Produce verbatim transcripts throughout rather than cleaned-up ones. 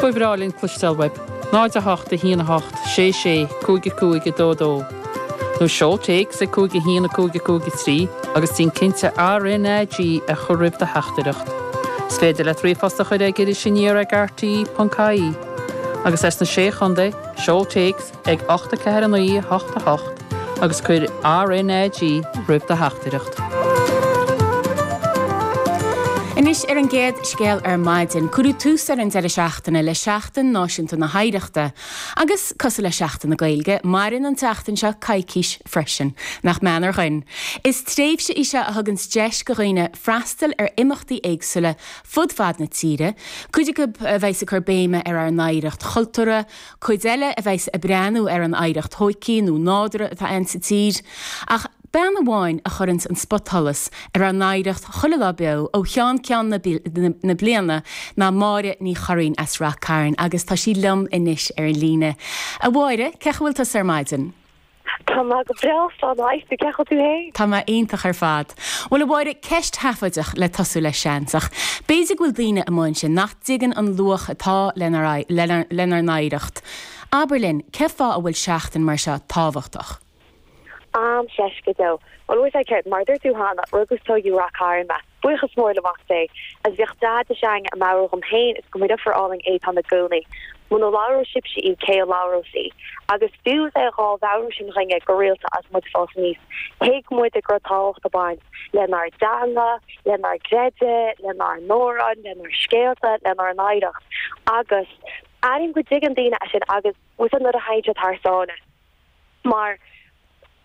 Ba bhreá linn cloisteáil uaibh, náid a hocht a haon a hocht sé sé cúig a cúig a dó dó. Nó seol téacs ag cúig a haon a cúig a cúig a trí agus déan cinnte RNAG a chur roimh do theachtaireacht. Is féidir leat ríomhphost a chur ag Iris Aniar ag RTÉ ponc ie. Agus as na sé chontae, seol téacs ag ocht a ceathair a naoi a hocht a hocht agus cuir RNAG roimh do theachtaireacht. Anois ar an gcéad scéal ar maidin, cuireadh tús ar an deireadh seachtaine le Seachtain Náisiúnta na hOidhreachta. Agus cosúil le Seachtain na Gaeilge, maireann an tseachtain seo coicís freisin, nach mean ar dhuine. Is tréimhse í seo a thugann deis do dhaoine freastal ar imeachtaí éagsúla fud fad na tíre, Cuid acu a bheas ag cur béime ar ár n-oidhreacht chultúrtha, cuid eile a bheas ag breathnú ar an oidhreacht thógtha nó nádúrtha atá ann sa tír. Ach bean amháin a chuireann an spotsholas ar ár n-oidhreacht chuile lá beo ó cheann ceann na, na, na bliana ná Máire Ní Churraoin as Ráth Cairn agus tá sí liom anois ar an líne. A Mháire, cén chaoi a bhfuil tú ar maidin? Tá mé go breá slán cén chaoi tú féin? Tá mé iontach ar fad. Bhuel a Mháire ceist sheafóideach le tosú le seans ach. B'fhéidir go bhfuil daoine amuigh ansin nach dtuigeann an luach atá lenár n-oidhreacht. Abair linn, cén fáth a bhfuil seachtain mar seo tábhachtach. Am seis go deo. Well bhí céard mar dúirt tú cheana rugadh is tógadh i Ráth Cairn mé. Buíochas mór le Mac Dé, as bhíodh Daid s'againne ag meabhrú dhom féin is go mba deirfiúr álainn Étáin i gcónaí. Muna labhróidh sibhse í cé a labhrós í. Agus fiú é dhá mheabhrú sin dhúinne go rialta as muid ag fás aníos. Thuig muid go raibh tábhacht ag baint lenár dteanga, lenár gcreideamh, lenár n-amhráin, lenár scéalta, lenár n-oidhreacht. Agus airím go dtuigeann daoine é sin agus bhfuil nuair a théann siad thar sáile. Mar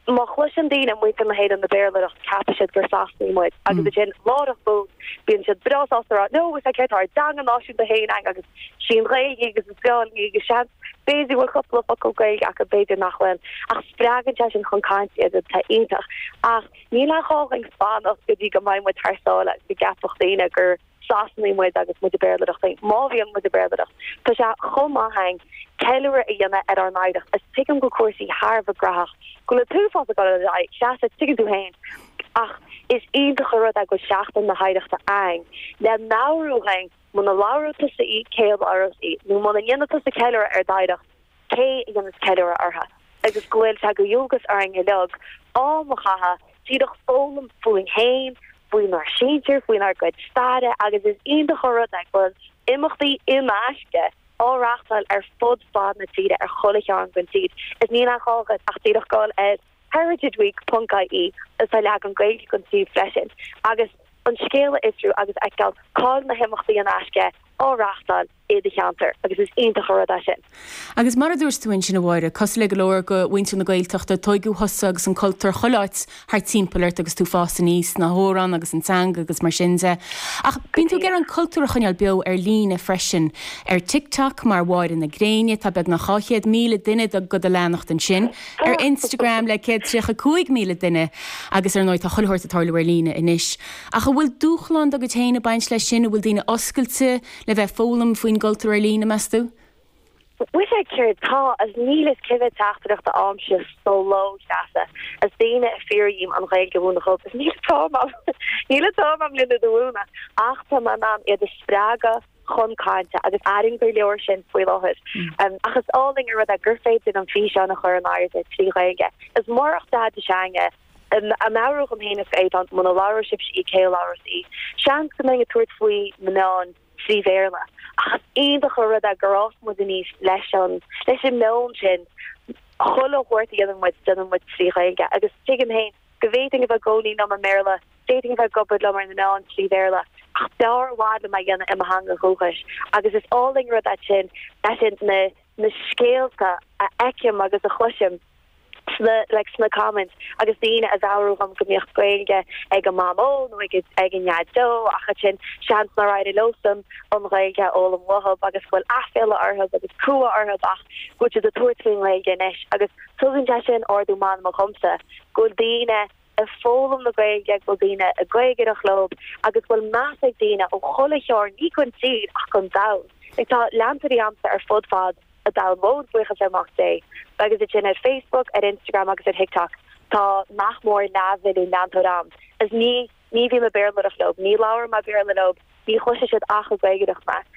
má chloiseann daoine muintir na hÉireann ag Béarlaireacht ceapann siad gur Sasanaigh muid agus sin láithreach bonn bíonn siad breá sásta rá no is céard ár dteanga náisiúnta féin agus sin Gaeilge agus is Gaeilge agus seans b'fhéidir bhfuil cúpla focal Gaeilge ach b'fhéidir nach bhfuil ach spreagann sé sin chun cainte iad tá iontach ach níl aon ghá againn fanacht go dtí go mbeidh muid thar sáile go gceapfadh daoine gur Sasanaigh muid agus muid ag Béarlaireacht má bhíonn muid ag Béarlaireacht Tá sé chomh maith againn ceiliúradh a dhéanamh ar ár n-oidhreacht is tuigim go cúrsaí thar grach go le tú fá go se tuigeann tú féin ach is iontach an rud é go seachtain na hoidhreachta ann le meabhrú dhúinn muna labhróidh tusa í cé a labhrós í nó muna ndéanfaidh tusa ceiliúradh ar d'oidhreacht cé a dhéanfas ceiliúradh uirthi agus go bhfuil sé de dhualgas orainn uilig am a chaitheamh díreach foghlaim fúinn féin faoinár sinsir faoinár gcuid staire agus is iontach an rud é go bhfuil imeachtaí in aisce á reáchtáil ar fud fad na tíre ar chuile chearn den tír. Is níl aon ghá ach díreach dul ar heritageweek.ie is tá leagan Gaeilge den suíomh freisin. Agus an scéal a fhiosrú agus feiceáil cá na himeachtaí in aisce á reáchtáil i do cheantar agus is iontach an rud é sin. Agus mar a dúirt tú ansin a Mháire, cosúil le go leor de mhuintir na Gaeltachta tógadh thusa agus an cultúr chuile áit thart timpeall ort agus tú ag fás aníos na hamhráin agus an teanga agus mar sin de. Ach bíonn tú ag iarraidh an cultúr a choinneáil beo ar líne freisin ar TikTok mar Mháire na Gréine tá beagnach dhá chéad míle duine do go do leanacht ansin ar Instagram le céad tríocha cúig míle duine agus ar ndóigh tá chuile shórt ag tarlú ar líne anois. Ach an bhfuil dúshlán do go féin ag baint leis sin a bhfuil daoine oscailte le bheith foghlaim faoin gcultúr ar líne meas tú? Bhuel céard tá as níl is cibé teachtaireacht a fhaighimse sa ló Treasa as daoine a fiafraíonn an Ghaeilge a mhúineadh dóibh is níl am níl am agam lena mhúineadh ach tá mé in ann iad a spreagadh chun cainte agus airím gur leor sin faoi láthair. Um, ach is álainn an rud é gur féidir an físeán a chur in airde trí Ghaeilge. Is mórach Daid s'againne ag meabhrú dhom féin is Étáin muna labhróidh sibhse í cé a labhrós í. Seans go mbeinn ag tabhairt faoi na meáin trí Bhéarla. Ach iontach an rud é gur fhás muid aníos leis an leis an meon sin chuile shórt a dhéanann muid déanann muid trí Ghaeilge agus tuigim féin go bhféadfainn a bheith i gcónaí liom i mBéarla, d'fhéadfainn a bheith ag obair liom ar na meáin trí Bhéarla ach b'fhearr i bhfad liom a dhéanamh i mo theanga dhúchais agus is álainn rud é sin é sin na na scéalta a fheicim agus a chloisim sna like sna comments agus daoine ag meabhrú dhom go mbíodh Gaeilge ag a mamó nó ag ag a ndeaideo ach ansin seans nár éirigh leosan an Ghaeilge a fhoghlaim uathu agus go bhfuil aiféala orthu agus cumha orthu ach go bhfuil siad ag tabhairt faoin nGaeilge anois agus tugann sé sin ardú meanma dhomsa go bhfuil daoine ag foghlaim na Gaeilge go bhfuil daoine ag gaeilgeoireacht leo agus go bhfuil meas ag daoine ó chuile chearn ní den tír ach den domhan. Like tá leantóirí agamsa ar fud fad an domhain mhóir buíochas ar Mac Dé agus é sin ar Facebook, ar Instagram agus ar TikTok tá nach mór leathmhilliún leantóir agam. Is ní ní bhím ag Béarlaireacht leo, ní labhraím Béarla leo, ní chloisfidh siad ach ag gaeilgeoireacht mé.